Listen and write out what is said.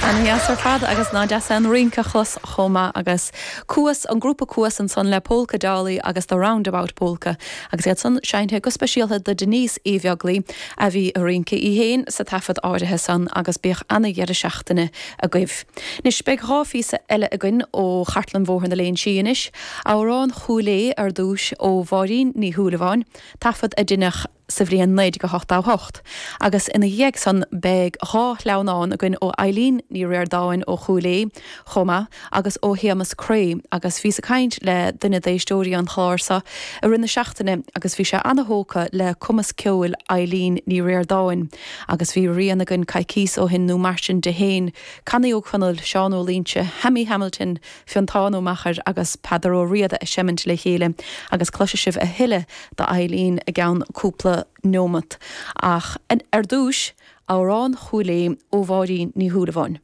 Ana-dheas ar fad agus nach deas é an rince a chlos chomh maith agus Cuas, an grúpa Cuas ansan le Polka Dolly agus The Roundabout Polka agus iad san seinnte go speisialta do Denise Uí Bheaglaoi a bhí ag rince í féin sa taifead áirithe san agus bíodh ana-dheireadh seachtaine agaibh. Anois beidh 2 phíosa eile againn ó Chartlann Bhóthar na Léinsí anois, Amhrán Chúil Aodha ar dtúis ó Mháirín Ní Shúilleabháin, taifead a deineadh sa bhliain 1988, agus ina dhiaidh san beidh 2 shleamhnán againn ó Eileen Ní Ríordáin ó Chúil Aodha chomh maith agus ó Shéamus Creagh agus bhíos ag caint le duine d'éisteoirí an chláir seo i rith na seachtaine agus bhí sé ana-thógtha le cumas ceoil Eileen Ní Ríordáin agus bhí rian againn coicíos ó shin nó mar sin di féin, Connie Ó Conaill, Seán Ó Loingsigh, Hammy Hamilton, Fiontán Ó Meachair agus Peadar Ó Riada ag seimint le chéile agus cloisfidh sibh a thuilleadh d'Eileen i gceann cúpla neomat. Ach ar dtúis, Amhrán Chúil Aodha ó Mháirín Ní Shúilleabháin.